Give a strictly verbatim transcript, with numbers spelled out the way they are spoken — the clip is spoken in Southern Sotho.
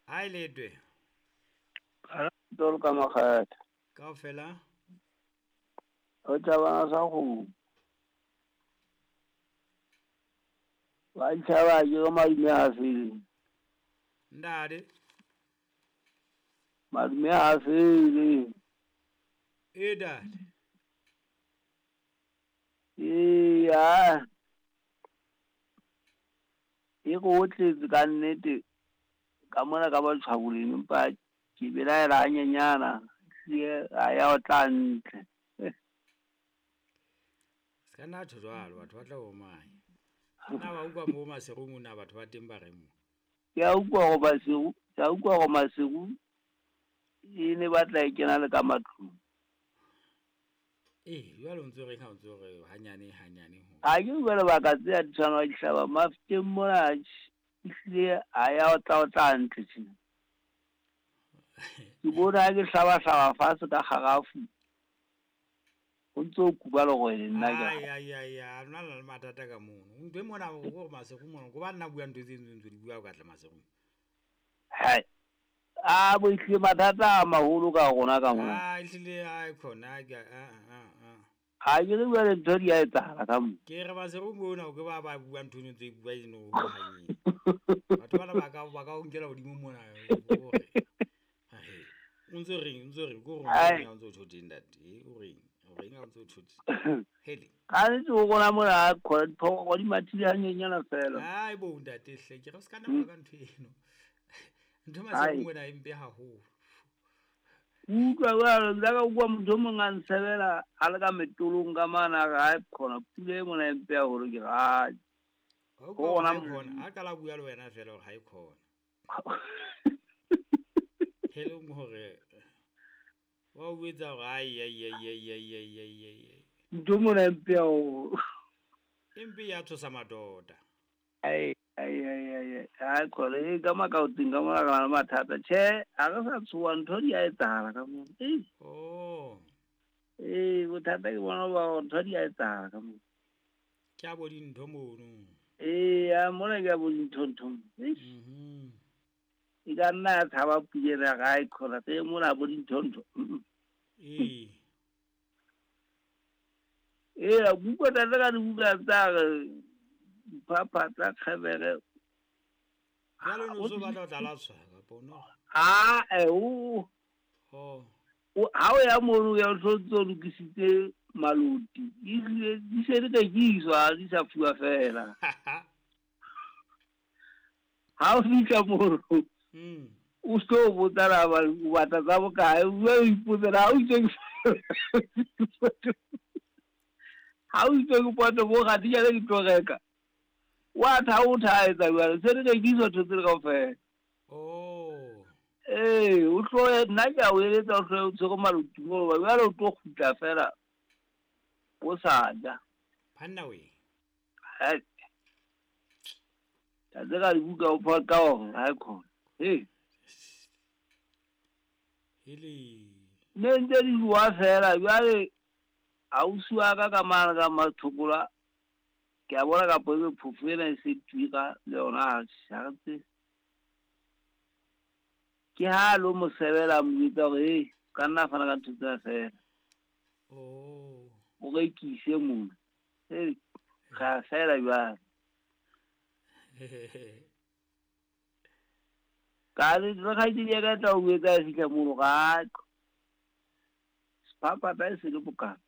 Hai letwe. Tolo ka makgetha. Kaofela. O tjabana sa go. Ba tjhaba ke go madume a fele. Ndade. Madume a fele. E dad. E ya. E go tletse ka nnete ka mona ka ba tshwaboleng empa ke belaela hanyenyana ehlile ha ya o tla ntle. Se ka nna tjho jwalo batho ba tla o manya. Nna ba utlwa mo Maseru na batho ba teng ba reng mo? Ke a utlwa hore Maseru, ke a utlwa hore Maseru e ne batla e kena le ka matlung. Eh, jwale o ntso reng ha o ntso re hanyane hanyane ho? Ha ke utlwa lebaka tse a di tshwana di hlaba Mafikeng mona ehlile ha ya o tla o tla ntle tjena. Ke bona ha ke hlaba hlaba fatshe ka kgarafu. Ho ntso kuba lerwele nna ke. Ai ai ai a lona le mathata ka mono. Ntwe mona o gore Maseru mona go ba nna bua ntho tse ntse di bua ka tla Maseru. Hai. A bo ehlile mathata a maholo ka rona ka mona. Ah ehlile ai khona ke a a a. Ha ke re jwale ntho di a etsahala ka mo. Ke re Maseru mona o ke ba ba bua ntho ntse bua eno ho hanyeng. Batho bana ba ka ba ka o nkela hodimo mona hore. Hai. O ntso reng, o ntso reng go reng ha o ntso tjho teng ntate, o reng? O reng ha o ntso tjho teng? Hele. Ka nnete ho rona mona khona diphoko di mathile hanyenyana fela. Ai bo ntate hle, ke re se ka nna ka ntho eno. Ntho Maseru mona e mpe haholo. Utlwa jwalo nka ka utlwa motho o mong a nsebela a le ka metolong ka mane a re hai khona pula e mona e mpe haholo ke re hai. Ho rona mona a qala bua le wena fela hore ha e khona. Hele hore wa o etsa hore ai ai ai ai ai ai ai ai. Ntho mona e mpe haholo. E mpe ya tshosa madota. Ai ai ai ai ai khona e ka makaoting ka mona ka mathata tjhe ha re sa tshoha ntho di a etsahala ka mona. Eh. Oh. Eh bothata ke bona ba ntho di a etsahala ka mona. Ke a bo dintho mono. Eh ya mona ke a bo dintho ntho. Eh. Mhm. E ka nna ya tshaba pula ga e khona tse mona bo dintho ntho. Eh. Eh a buka tla ka dibuka tsa dipapa tsa kgebere. Jwale o no batla ho tla latswa kapa o no? Ah eh o. Oh. O ha o ya mono ya o ntso lokisitse maloti. Ehlile di se di rekiswa di sa fuwa fela. Ha o fihla mono. Mm. O sto botsa la ba o batla tsa bokae o ipotsa ha o itse ha o itse ke poto bo ga di ya le tlo reka. Wa tha o tha etsa jwale se re rekiswa ntho tse kaofela. Oh. Eh o tlo nna ke a o eletsa o tlo o tshwere maloti mo ba jwale o tlo kgutla fela o sa ja. Banna we. Hai. Ta tsega dibuka o pha ka hore ha khona. Eh. Hele. Ne ntse di bua fela jwale ausi wa ka ka mane ka Mathokola ke a bona ka poe phofo ena e se tuka le yona ha re tsebe. Ke ha lo mo sebela mo jwetsa hore hey ka nna fana ka ntho tsena fela. Oh. O rekise mona. Hey ga fela jwale. Ka re re kgaitsedi ya ka tla o etsa fihla mono ga. Sepapa ta e se le bokana.